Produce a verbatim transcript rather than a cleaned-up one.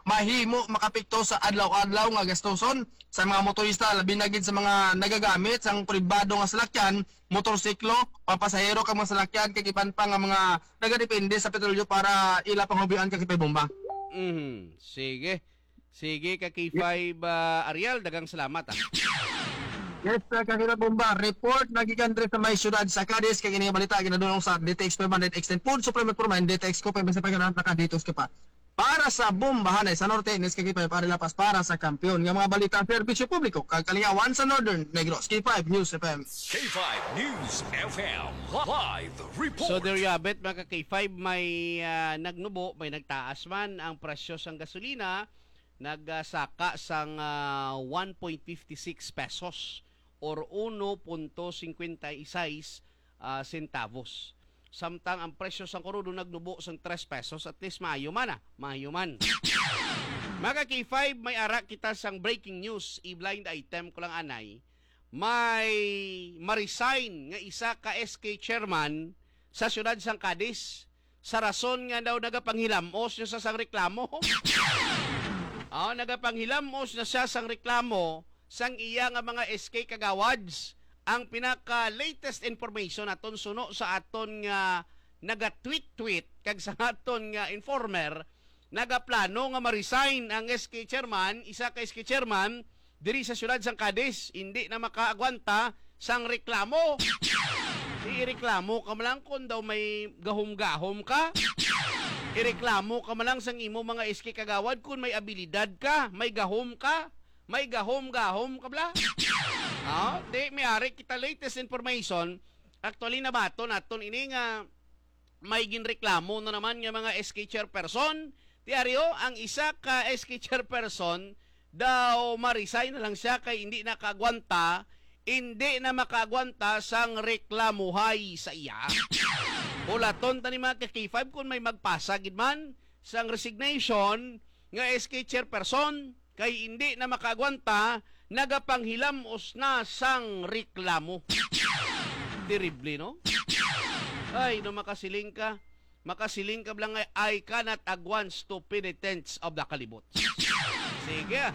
mahimo makapekto sa adlaw-adlaw nga gastuson sa mga motorista, labi na gid sa mga nagagamit sang pribado nga salakyan, motorsiklo, papasahero kag mga salakyan, kag iban pa nga mga nagadepende sa petrolyo para ila panghubian, Kakipay Bomba. Mhm. Sige. Sige, Kakipay, ah, Ariel, daghang salamat, ah. Yes, uh, Kakipay Bomba, report na gikan diri sa may siyudad sa Cadiz, kag ini nga balita ginadunong sa D T X five hundred X ten Food Supplement Pro Mind, D T X ko pa sa pagkakaroon na ka dito, Kakipay. Para sa Bombahanay sa Norte, Ines Kakipay, para lapas para sa kampiyon nga mga balita, serbisyo publiko, kag kalingawan sa Northern Negros. K five News F M. K five News F M live report. So there you have it, mga ka-K five, may ah, nagnubo, may nagtaas man ang presyo sang gasolina, nagsaka sang ah, one point fifty six pesos or uno punto cincuenta y seis ah, centavos. Samtang ang presyo sang krudo nagnubo sang tres pesos, at least maayo man, ah, maayo man. Mga ka-K five, may ara kita sang breaking news, i-blind item ko lang anay. May ma-resign nga isa ka S K chairman sa siyudad sang Cadiz sa rason nga daw nagapanghilamos na siya sang reklamo. Oh, nagapanghilamos na siya sang reklamo sang iya nga mga S K kagawads. Ang pinaka-latest information aton suno sa aton nga naga-tweet-tweet kag sa aton nga informer, nagaplano nga ma-resign ang S K chairman, isa ka S K chairman diri sa siyudad sang Cadiz, hindi na makaagwanta sang reklamo. Di ireklamo ka man lang kung daw may gahom-gahom ka. Ireklamo ka man lang sang imo mga S K kagawad kung may abilidad ka, may gahom ka, may gahom-gahom ka bala. Ah, di, may ari kita latest information. Actually, nabaton naton ini nga may ginreklamo na naman nga mga S K chairperson. Ti ari, oh, ang isa ka S K chairperson daw ma-resign na lang siya kay hindi na kaagwanta, hindi na makaagwanta sang reklamuhay sa iya. Hulaton ta ni mga ka-K five kung may magpasa gid man sang resignation nga S K chairperson kay hindi na makaagwanta, nagapanghilamos na sang reklamo. Terrible, no? Ay, no, makasiling ka, makasiling ka lang ay, "I cannot agwan stupidity of the kalibot." Sige, ah.